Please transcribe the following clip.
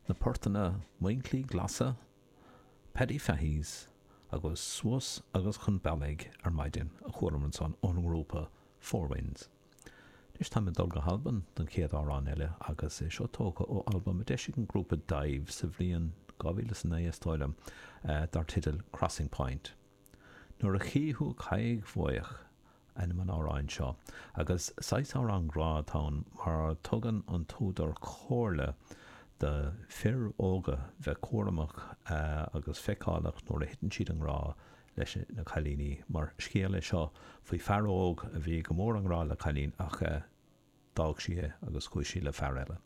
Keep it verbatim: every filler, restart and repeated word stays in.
Na portanna Muincillí Glasa, Paddy Fahy's agus Suas agus Chun Bealaigh ar Maidin a chualamar ansan ón ngrúpa Four Winds. Anois táim ag dul go hAlbain don chéad amhrán eile agus é seo tógtha ó albam a d'eisigh an grúpa Dive sa bhliain dhá mhíle is a naoi is dóigh liom, dar teideal Crossing Point. Nuair a Chí Thú Caidhg Bhuidheach ainm an amhráin seo agus saghas amhrán grá atá ann mar tugann an t-údar comhairle do fir óga bheith cúramach agus feiceálach nuair a thiteann siad i ngrá leis na cailíní mar scéal é seo faoi fear óg a bhí go mór i ngrá le cailín ach d'fhág sí é agus chuaigh sí le fear eile.